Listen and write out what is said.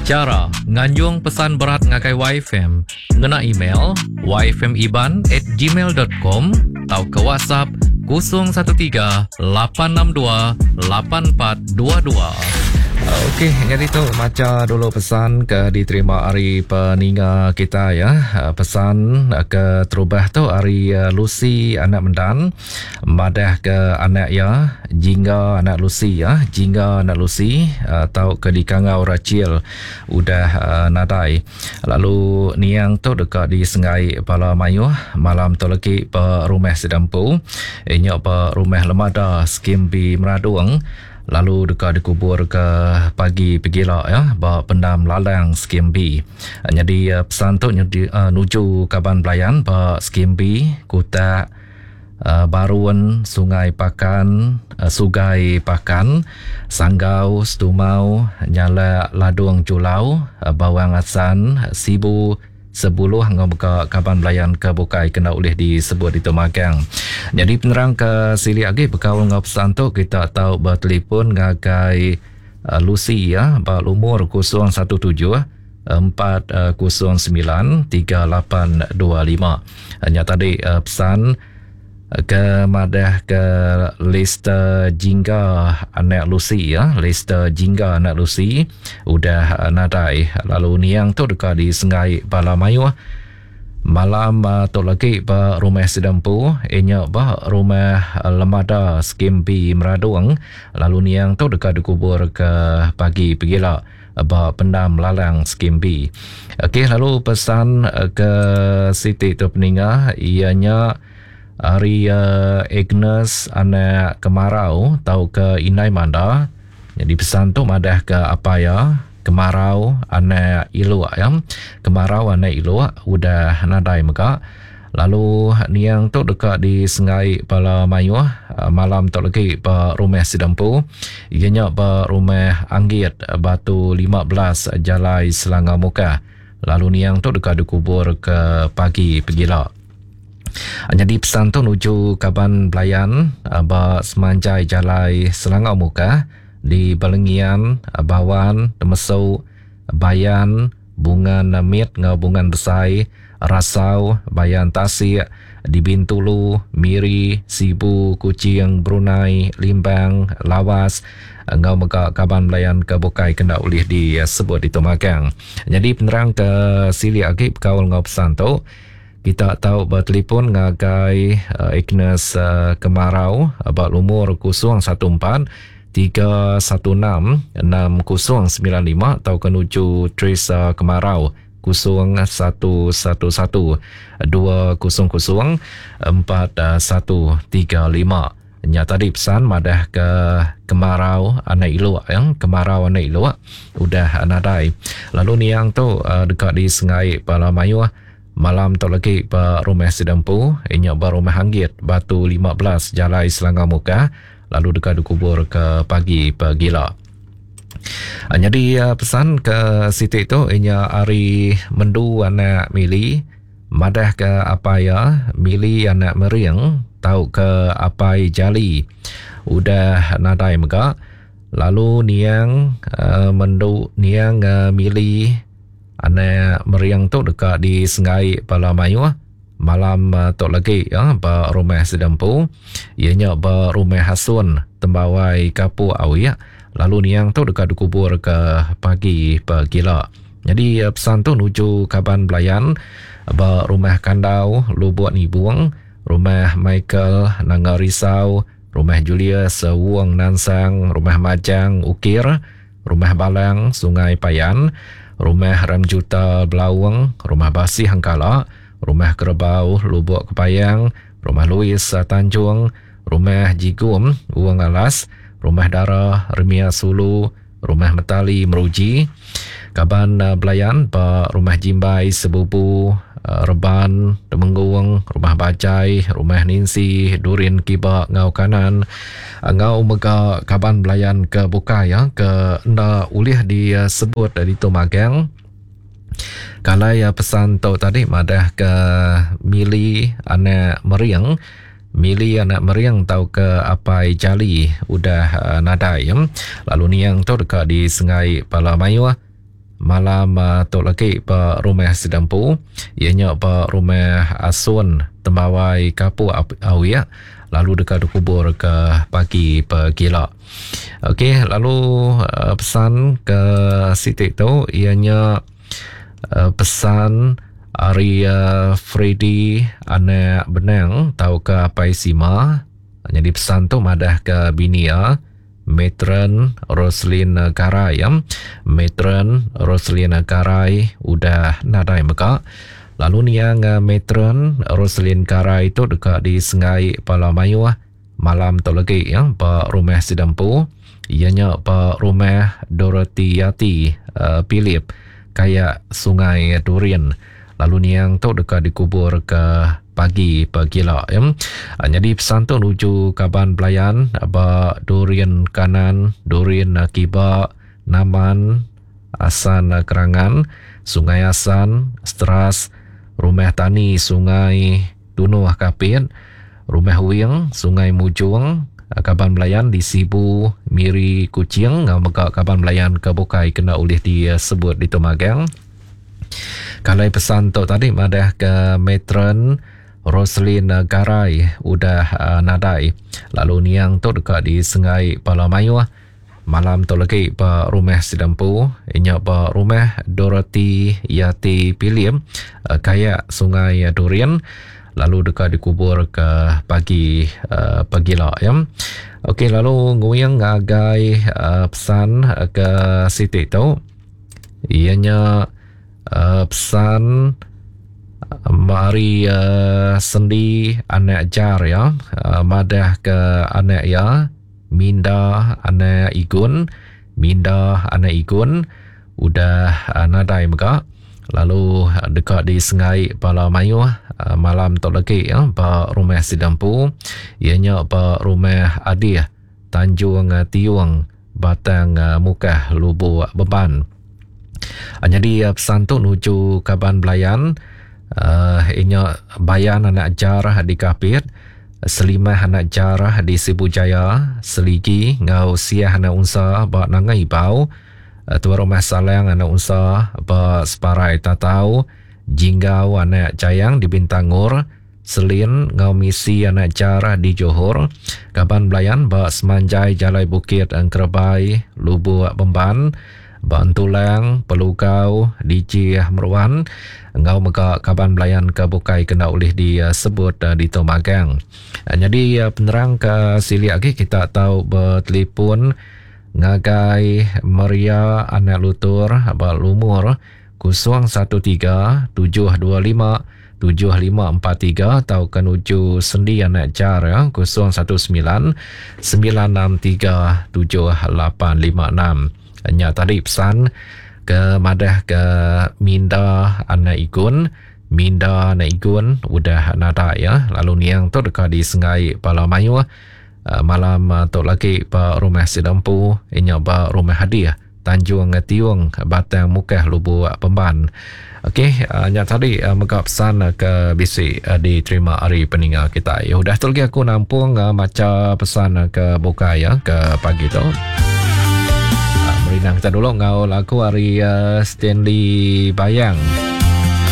Chara nganjung pesan berat ngagai YFM ngena email yfmiban@gmail.com tauka WhatsApp 013 862 8422. Okey, nyadi tu macha dulu pesan ke diterima ari peninga kita ya. Pesan ke terubah tu ari Lucy anak Mendan madah ke anak iya Jingga anak Lucy ya, Jingga anak Lucy tau ke dikangau Rachel udah nadai. Lalu niang tu deka disenggai bala mayuh malam tu legi ba rumah sida empu inya ba Rumah Lemada Skim B Meradong lalu deka dikubur ke pagi pegila ya ba Pendam Lalang Skim B. Nyadi pesan tu nuju kaban belayan ba Skim B Kutak Barun, Sungai Pakan, Sugai Pakan, Sanggau, Setumau, Nyalak Ladung Julau, Bawang Assan, Sibu, Sebuluh enggau mega kaban belayan ke bukai kena ulih disebut ditu magang. Nyadi penerang ke silik agi bekaul enggau pesan tu kita tau betelefon ngagai Lucy ya ba lumur 017 409 3825. Nya tadi pesan ke madah ke Lester Jingga anak Lucy ya, Lester Jingga anak Lucy udah nadai lalu niang tu deka disenggai bala mayuh malam tu lagi ba rumah sida empu inya ba rumah Lemada Skim B Meradong lalu niang tu deka dikubur ke pagi pegila. ba Pendam Lalang Skim B. Okey lalu pesan ke siti tu peninga iya nya ari Agnes anak Kemarau tauka Indai Manda. Nyadi pesan tu madah ke apai iya Kemarau anak Iluk ya. Kemarau anak Iluk udah nadai mega. Lalu niang tu deka disenggai bala mayuh malam tu legi ba rumah sida empu iya nya ba Rumah Anggit Batu 15 Jalai Selangau Mukah. Lalu niang tu deka dikubur ke pagi pegila. Nyadi pesan tu nuju kaban belayan ba semanjai Jalai Selangau Mukah di Balengian, Bawan, Temesu, Bayan, Bungan Mit enggau Bungan Besai, Rasau, Bayan Tasik, di Bintulu, Miri, Sibu, Kuching, Brunei, Limbang, Lawas enggau mega kaban belayan ke bukai ke enda ulih disebut ditu magang. Nyadi penerang ke silik agi bekaul enggau pesan tu, kita tau betelefon ngagai Agnes Kemarau ba lumur 014 316 6095 tauka nuju Teresa Kemarau 0111 200 4135. Nya tadi pesan madah ke kemarau anak iluk ya, kemarau anak iluk udah nadai. Lalu niang tu deka disengai bala mayuh malam tu lagi ba rumah sida empu inya ba Rumah Anggit Batu 15 Jalai Selangau Mukah lalu deka dikubur ke pagi pegila. Nyadi pesan ke siti tu inya ari Mendu anak Mili madah ke apai iya Mili anak Mering tauka apai Jali udah nadai mega lalu niang Mendu niang Mili anak Mering tu deka disenggai bala mayuh Malam tu lagi ba rumah sida empu iya nya ba Rumah Hasun Tembawai Kapuk Awik lalu niang tu deka dikubur ke pagi pegila. Nyadi pesan tu nuju kaban belayan ba Rumah Kandau Lubuk Nibung, Rumah Michael Nanga Risau, Rumah Julius Wong Nansang, Rumah Majang Ukir, Rumah Balang Sungai Payan, Rumah Ramjuta Belaung, Rumah Basih Engkala, Rumah Kerebau Lubok Kepayang, Rumah Louis Tanjung, Rumah Jigum Wong Alas, Rumah Dara Remia Sulu, Rumah Metali Meruji, Kaban Belayan ba Rumah Jimbai Sebubu, Reban Temenggung, Rumah Bajai, Rumah Ninsi, Durin Kiba enggau Kanan, enggau mega kaban belayan ke bukai ya ke enda ulih disebut ditu magang. Kalai pesan tu tadi madah ke Mili anak Mering, Mili anak Mering tauka Apai Jali udah nadai. Lalu niang tu deka disengai bala mayuh. malam tu lagi ba rumah sida empu iya nya ba rumah Asun Tembawai Kapuk Awik lalu deka dikubur ke pagi pegila. Okey lalu pesan ke siti tu iya nya pesan ari Freddy anak Benang tauka Apai Sima nyadi pesan tu madah ke bini iya Matron Roselyn Garai Matron Roselyn Garai udah nadai mega. Lalu niang Matron Roselyn Garai tu deka disenggai bala mayuh malam tu legi ba rumah sida empu iya nya ba rumah Dorothy Yati Philip Kayak Sungai Durin. Lalu niang tu deka dikubur ke pagi pegila. Nyadi pesan tu nuju kaban belayan ba Durin Kanan, Durin Kiba, Naman, Asan Kerangan, Sungai Asan, Steras, Rumah Tani Sungai Tunoh Kapit, Rumah Wing, Sungai Mujong, kaban belayan di Sibu, Miri, Kuching enggau mega kaban belayan ke bukai kena ulih disebut ditu magang. Kalai pesan tu tadi madah ke matron Roselyn Garai udah nadai lalu niang tu deka disenggai bala mayuh malam tu lagi ba rumah sida empu nya ba rumah Dorothy Yati Pilim Kayak Sungai Durin lalu deka dikubur ke pagi pagila ya. Okey lalu nguing ngagai pesan ke siti tu. Iya nya pesan ari sendi anak jar iya madah ke anak iya Minda anak Igun Minda anak Igun udah nadai mega lalu deka disengai bala mayuh malam tu lagi ba rumah sida empu iya nya ba rumah Adih Tanjung Tiung Batang Mukah Lubuk Beban. Nyadi pesan tu nuju kaban belayan inya Bayan anak Jar di Kapit, Selimah anak Jar di Sibu Jaya, Seligi enggau Siah anak Unsa ba Nanga Ibau, Tuai Rumah Salang anak Unsa ba Separai Tatau, Jinggau anak Jayang di Bintangor, Selin enggau misi anak jar di Johor, kaban belayan ba semanjai Jalai Bukit Engkerebai, Lubuk Bemban, ba Entulang, Pelugau, Dijih Meruan enggau mega kaban belayan ke bukai ke enda ulih disebut ditu magang. Nyadi penerang ke silik agi kita tau betelipun ngagai Maria anak Lutur ba lumur 013 725 7543 tauka nuju sendi anak jar ya 019 963 7856. Nya tadi pesan ke madah ke minda anak igun minda anak igun udah nadai ya lalu niang tu deka disengai bala mayuh malam tu lagi ba rumah sida empu inya ba rumah hadiah Tanjung Tiung Batang Mukah Lubuk Pemban. Okey, nya tadi mega pesan ke bisi diterima ari peninga kitai. Udah tu lagi aku nampung macha pesan ke bukai ya ke pagi tu. Merindang kita dulu enggau lagu ari Stanley Bayang.